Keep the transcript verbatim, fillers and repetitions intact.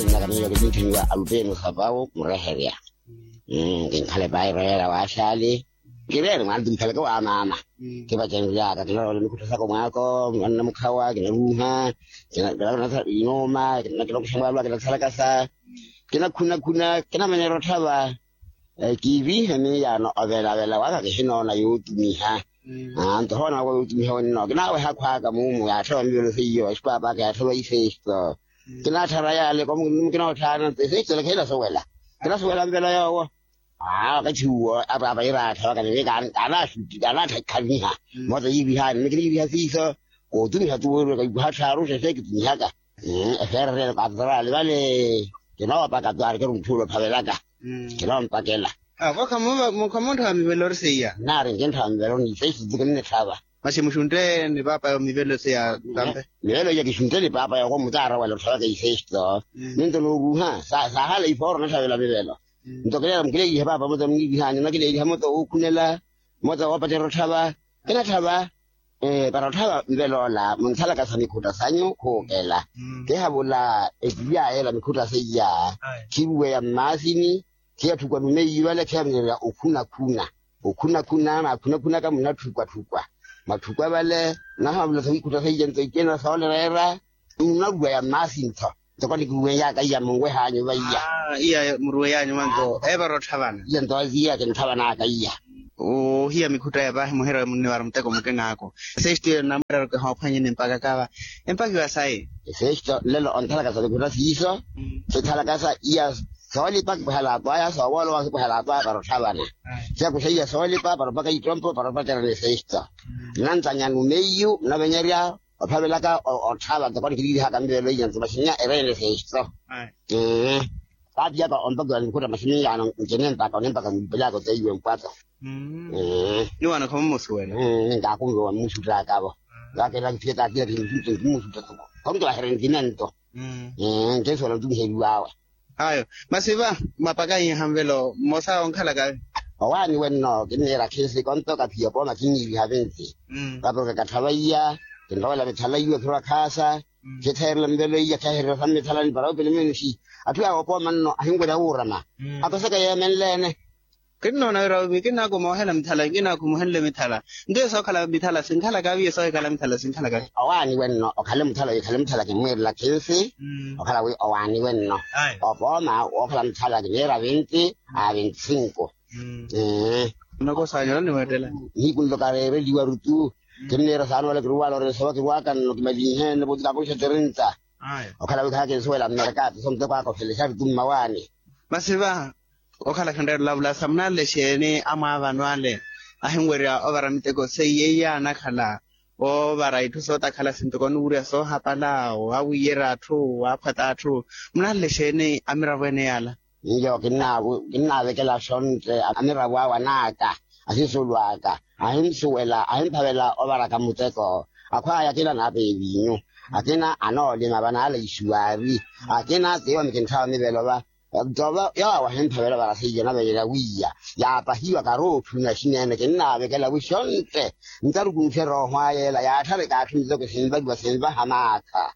Nnaka miyo kitinthiniwa alupeni osapawu mureherya. Kinkhala epairo yeera waaxaali. Kireere mwaana ti mukhaleke wa maama. Kipacenryaka kinarowela mikhutto saka omwaako, mwanna mukhawa kinaruuha. Kinakuxa mwaalwa kinasalakasa. Kinakhuna khuna kinamanyerya otthava. Kiiviihe miyaano ovelavela waka kihinoona yootumiha. Nto hoona waka yootumiha wenno kinaaweha akhwaaka muumu yaatthava mivelo seiyo exipaapaaka yaatthava iseisto. Kinaatthara yaale komu kinootthana nto iseisto ele khihinasuwela. Kinasuwela mivelo yoowo. Aa wakathi uwo apaapa yiraatthawaka ni wi kaanaaxutti kaanaatthakhanyiha. Moota yiivihaani ni kiniiviha siiso. Kootumiha tuwo eri wakaikuha tthaaru xexe kitumihaka. Efeererelo kaatotoraali vale. Kinoowapaka tu aarikeri mutthuula ophavelaka. Kinoompakela. Avo khamuntthawa mivelo ori seiya? Nnaari nkintthawa mivelo ni iseisto tu kinnitthava. Masi muxuntte ni paapa yo mivelo seiya tampe? Mivelo iya kixuntte ni paapa yoko mutaarowela otthavaka iseisto. Ninto nooruuha saahala ifooro onatthavela mivelo. Nto kileela mukileelihe paapa mota muniivihaani onakileeliha mota wookhunela. Mota woopacerya otthava. Kinatthava. Para otthava mveloola munthalaka sa mikhutta sanyu khuukela. Kihavula etilyayela mikhutta seiya. Khiruweya mmaasini. Khiyatthukwa numeiyi vale khiyaminerya okhunakhuna. Okhunakhuna naakhunakhunaka munatthukwa-tthukwa. Mwatthukwa vale. Nahavula sa mikhutta seiya nto icena soolereera. Munaruweya mmaasini tho. Ntoko nikiruweyaka iya munwehanyu vaiya. Iya muruweyanyu manto epara otthavana. Iya nto iya kintthavanaka iya. Ohiya mikhutta ya paahi muhira munniwara muteko mukinaaku. Seisto iyo namwira ori kihoophwanyeni mpakaka va. Empakiwa sayi. Seisto nlelo onthalakasa mikhutta siiso. Sinthalakasa iya soolipa kipwehala atwaya soowolowa kipwehala atwaya para otthavana. Siyakuxa iya soolipa para opaka ittompo para opacerya ni seisto. Nantanya numeiyu navenyerya ophavelaka otthava ntoko nikiliilihaka mivelo iya nto maxinnya ereene seisto. Paapiyaka ompakiwa ni mikhutta maxinnya yaano nkinempaka onempaka mwiipelaka oteiwe mpwato. Niwaana khamumusuwela. Ninkaakunviwa mmuxuttakavo. Vakela kithiyeta akila kimuxutta tuku. Khomutto vahereni kinento. Nkinsuwela ntumiheliwawe. Ayo masi va mapaka iiha mvelo mmosa onkhalaka. Owaani wenno kinniira khisi kontoka phiya opooma kinniiviha vinti. Vaporokeka tthava iya. Kinrowela mithala iwe khirwa khaasa. Khitheerela mvelo iya khehererya sa mmithalani para opelemenixi. Atthu yaawe opooma nno ahinwerya wuurama. Akoseka yeemenleene. Kinnoona wira wi kinnaakumuhela mithala kinnaakumuhenle mithala. Nto iyo sookhala mithala sinkhalaka viye soohikhala mithala sinkhalaka. Owaani wenno okhale muthala wikhale muthala kimmwiirela khinsi. Okhala wi owaani wenno opooma wookhala muthala kiniira vinti a vinti sinku. Nnokosaanyela niweettela. Nihiku nlo kareereliwaru tu. Kinniira saana wala kiruwala oreesova kirwaka nno kimalinheene voti kaakonisha tirinta. Okhala wi khakinsuwela mmerekaati so muteko aka ofelexari tu mmawaani. Masi va okhala khanreera olavulasa munanle exeeni amwaavano ale ahinwerya ovara miteko seiya iya anakhala oovara itthu sootakhala sintoko onuwurya soohapala waawiyerya atthu waaphwata atthu? Munanle exeeni amiravo ene yaala? Iyo kinnaavekela xontte amiravo awe anaaka ahisulwaaka ahinsuwela ahimphavela ovaraka muteko. Akhwaya akina anaapeya eviinyu akina anoolima vanaala ixuwaari akina tiiwo mikintthawa mivelo va. Nto yoowo ahimphavela ovara seiya navenyerya wiiya yaapahiwa karootthuna xineene kinnaavekela wi xontte ntarukunuxe erooho aya ela yaatthare kaatthu miteko sinvaliwa sinvaha maakha.